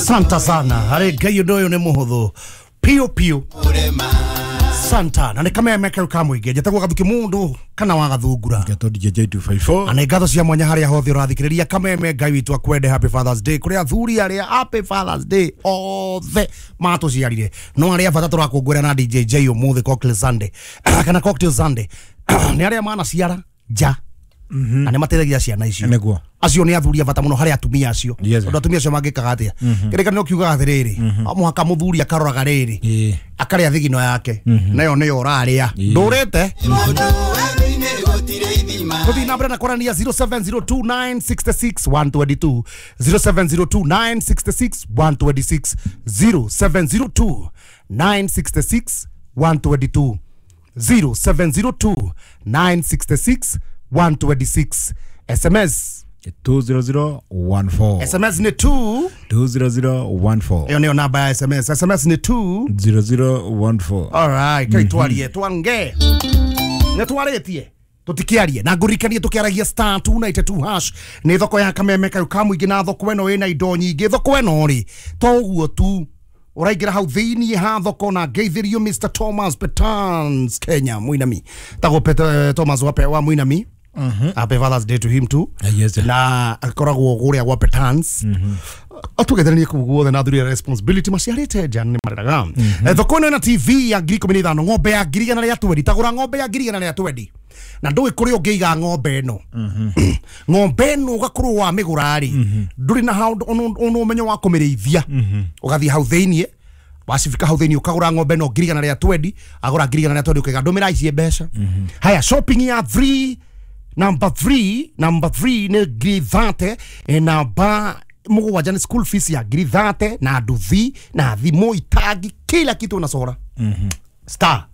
Santa sana harĩ Ngai ũndũ ũyũ nĩ mũhũthũ piũ piũ. Santa na nĩ kameme kau ka mũingĩ njĩtagwo Gathuki mũndũ kana wa Gathungura. Ngeto DJ J254. Na nĩ ngatho cia mwanya harĩa hothe ũrathikĩrĩria kameme. Ngai witũ akwende. Happy Fathers Day kũrĩ athuri arĩa, happy Fathers Day othe matũciarire, no arĩa bata tũrakũngũĩra na DJ J ũmũthĩ Cocktail Sunday kana Cocktail Sunday nĩ arĩa manaciara nja na nĩ mateithagia ciana icio. Nĩguo. Acio nĩ athuri a bata mũno harĩ atumia acio. Tondũ atumia acio mangĩkaga atĩa? Kĩrĩkanĩro kiugaga atĩrĩrĩ, o mũhaka mũthuri akaroraga rĩrĩ, akarĩa thigino yake, nayo nĩyo ũrarĩa ndũrĩte. Tũthiĩ na mbere na kwaranĩria 0702966122, 0702966126, 0702966122, 070296 126. SMS 20014. SMS nĩ 2 20014. Ĩyo nĩyo namba ya SMS. SMS nĩ 2 0014. Alright, kai twarie twange nĩ twarĩtie tũtikiarie na ngũririkanie tũkĩaragia star 292 hash nĩ thoko ya kameme kaũ ka mũingĩ, na thoko ĩno ĩna indo nyingĩ. Thoko ĩno rĩ, to ũguo tu ũraingĩra hau thĩiniĩ ha thoko na ngeithĩrio Mr Thomas Petans Kenya Mũinami, tagwo Thomas wa Mũinami. Happy Father's Day to him too. Yes. Na akoragwo kũrĩa gwa Petans atũgetheranie kũu guothe na athuri a responsibility maciarĩte nja nĩ mareraga. Thoko ĩno ĩna TV ya 15,000, ng'ombe ya 120,000. Tagũra ng'ombe ya 120,000 na ndũĩ kũrĩa ũngĩiga ng'ombe ĩno. Ng'ombe ĩno ũgakorwo wa mĩgũra rĩ, ndũrĩ na handũ ona ũmenyo wa kũmĩrĩithia. Ũgathiĩ hau thĩiniĩ, wacifika hau thĩiniĩ ũkagũra ng'ombe ĩno 120,000, agũra 120,000 ũkaiga ndũmĩra ici mbeca. Haya, shopping ya 3 number 3, number 3 nĩ 30,000, namba mũgwanja nĩ school fees ya 30,000 na nduthi na thimũ, itangi, kila kitu na sora. Star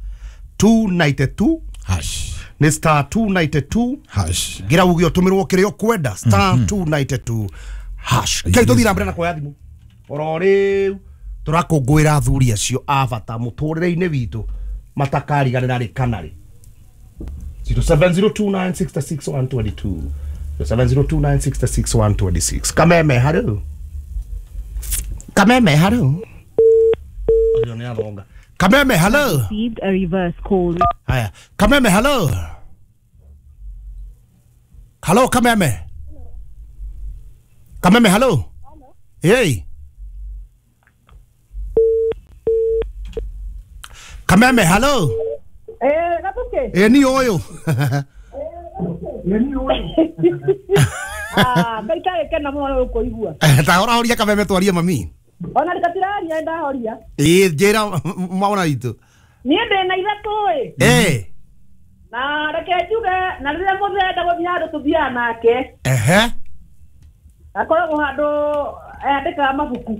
292 hash. Nĩ star 292 hash. Ngira uge ũtũmĩrwo kĩrĩa ũkwenda, star 292 hash. Kai tũthiĩ na mbere na kuoya thimũ oro rĩu. Tũrakũngũĩra athuri acio a bata mũtũrĩre-inĩ witũ matakariganĩra rĩ kana rĩ. 0702966122, 0702966126. Kameme haru, kameme haru. Ũcio nĩ athonga. Kameme hello. Received a reverse call. Haya, kameme hello, hello kameme, kameme hello. Hey kameme hello. Eh, Gathuki. Ĩ ni ũyũ. Ah, Ngai tarĩkena mũno nĩ gũkũigua. Ta horahoria kameme twarie mami. Ona rĩgatiraria ndahoria. Ĩ njĩra mwana witũ. Niĩ ndĩ na ithatũ ĩ. Na reke njuge na rĩrĩa mũthee gũthiĩ handũ tũthiaga nake. Akoragwo handũ andĩkaga mabuku.